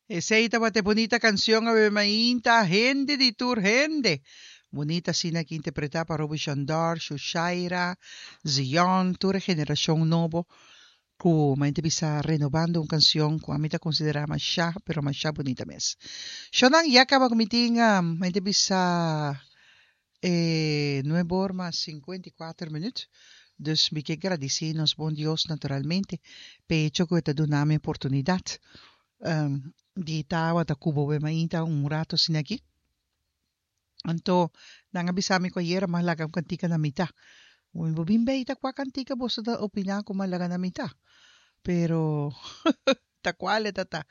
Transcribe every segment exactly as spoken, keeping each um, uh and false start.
Esey tabata bunita cancion awe mainta, Hende di Tur Hende. Bunita asina aki interpreta pa Roby Shandor, Shushaira, Zion, tur e generacion nobo cu mainta bisa renobando un cancion cu ami ta considera masha pero masha bunita mes. Shonnan ya caba cu mi tin mainta bisa e nuebe or mas cincuenta y cuater minuut. Dus mi ke gradici nos bon Dios naturalmente p'e hecho cu e ta duna mi oportunidad di tabata cu bo be mainta un rato asina aki. Anto nan a bisa mi cu ayera mas laga un cantica na mita. Mi bo bin bay ta cua cantica boso ta opina cu mas laga na mita. Pero ta cual e ta ta.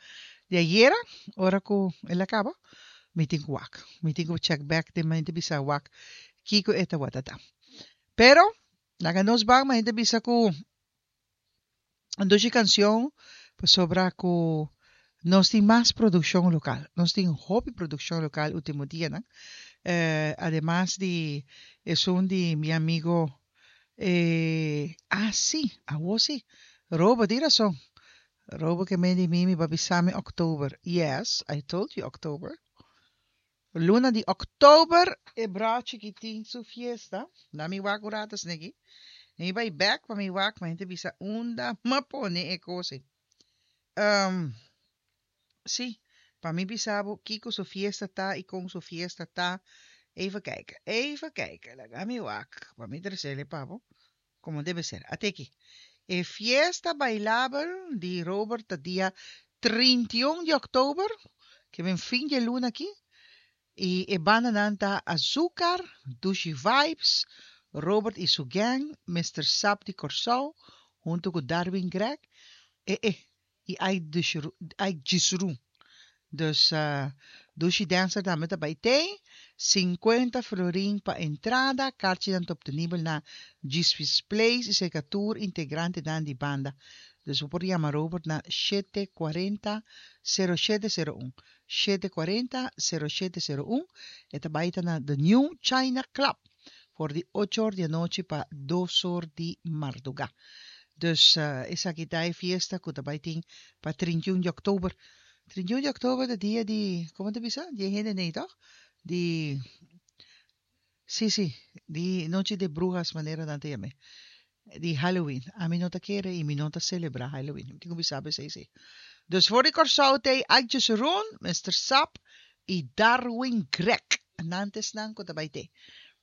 Di ayera ora cu el a caba mi tin cu wak. Mi tin cu check back den mi ta bisa wak kico e tawata ta. Pero laga nos ban mi ta bisa cu un dushi cancion pasobra cu nos tin mas produccion local. Nos tin hopi produccion local ultimo dianan. Ademas di esun di mi amigo eh ah si awo si Robo tin rason. Robo ke men di mi mi ba bisa mi october. Yes I told you october. Luna di october e brochi ki tin su fiesta. Na mi wak un rato sneki. Mi bai bek pa mi wak ma hende bisa unda m'a pone e kos ei. Um, sí, pa mi bisa bo kiko su fiesta ta i kon su fiesta ta. Even kijken, even kijken. Laga mi wak pa mi tresele pa bo como debe ser. At'e aki. E fiesta bailabel di Robert ta dia trinta i un di october, ke ben fin di e luna aki. I e bandanan ta Azucar, Dushi Vibes, Robert i su gang, Mister Sap di Kòrsou, huntu ku Darwin Gregg, e e i Ike Gisru. Dus Dushi Dancer tambe ta bai tei. Sinkuenta florin pa entrada, karchinan ta optenibel na Gisfi's Place i serka tur integrantenan di banda. Dus bo por yama Robert na shete kuarenta sero shete sero un, shete kuarenta sero shete sero un. E ta bai ta na The New China Club for di ocho or di anochi pa dos or di mardugá. Dus esaki ta e fiesta ku ta bai tin pa trinta i un di òktober. Trinta i un di òktober ta dia di, komo ta bisa? Di e hende nei tòg? Di, sí sí, di nochi de bruhas manera nan ta yam'é. Di Halloween. Ami no ta kere i mi no ta selebrá Halloween. Mi tin ku bisa bo esei sí. Dus for di Kòrsou t'ei Adje Seroen, Mister Sap i Darwin Gregg. Nan ta esnan ku ta bai t'ei.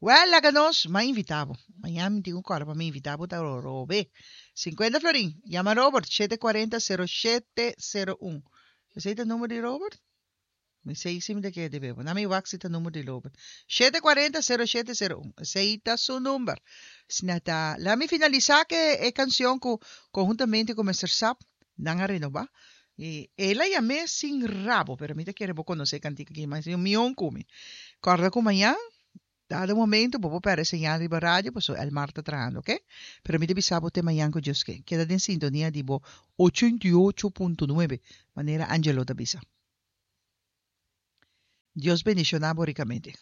Wèl, laga nos, m'a invitá bo. Mañana mi tin ku kòrda pa mi invitá bo ta Robe. Sinkuenta florin. Yama Robert, shete kuarenta sero shete sero un. Esei ta number di Robert? Mi sei si mi ta kere debe bo. Na mi wak si ta number di Robert. Shete kuarenta sero shete sero un. Esei ta su number. Asina ta. Laga mi finalisá ku e kanshon ku konhuntamente ku Mister Sap nan a renobá. I el a yam'é Sin Rabo, pero mi ta kere bo konosé e kantika aki mas mion ku mi. Kòrda ku mañan Dado momento bo por perde señal riba radio pasobra Elmar ta trahando, oke? Pero mi ta bisa bo te mañan ku Dios ke. Keda den sintonia di bo ochenta i ocho punto nuebe, manera Angelo ta bisa. Dios bendiciona bo ricamente.